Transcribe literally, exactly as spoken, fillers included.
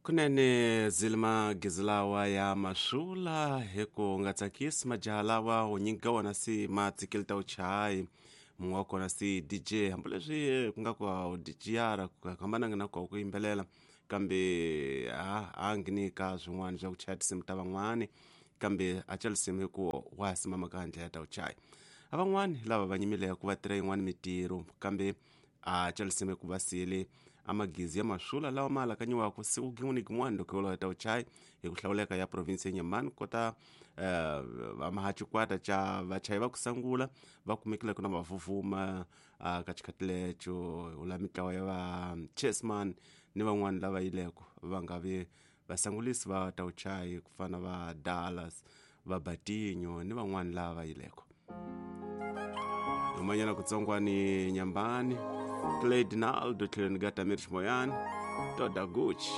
Kunene zilima gizilawa ya masula hi ku nga tsakisi majaha lawa wunyingi ka wona si ma tsikile ta vuchayi mun'we wa kona si D J, hambileswi ku nga ku a D J-ara ku hambananga na ku ku yimbelela, kambe a a ngheni ka swin'wana swa ku chaya tinsimu ta van'wani, kambe a ca risimu hi ku wa simama ka ndlela ta vuchayi. A van'wani lava va nyimile ku va tirha yin'wani mitirho, kambe a ca risimu hi ku va siyele a magizi ya masula lawa ma alakanyiwaka siku gin'we ni gin'wana loko yo ta vuchayi hi ku hlawuleka ya province ya Nyamani kota eh, va xikwata ca vachayi va ku sangula va kumekile ku na vavuvuma ka xikhathi lecho ula mitlawa ya va chessman ni van'wani lava yileko va nga vi vasangulisi va ta vuchayi ku fana va Dallas, va Batinho ni van'wani lava va yileko humanyana kutsongwani Nyambani Clay Dinaldo tlhelweni ka Tamir Ximoyani Toda Gucci.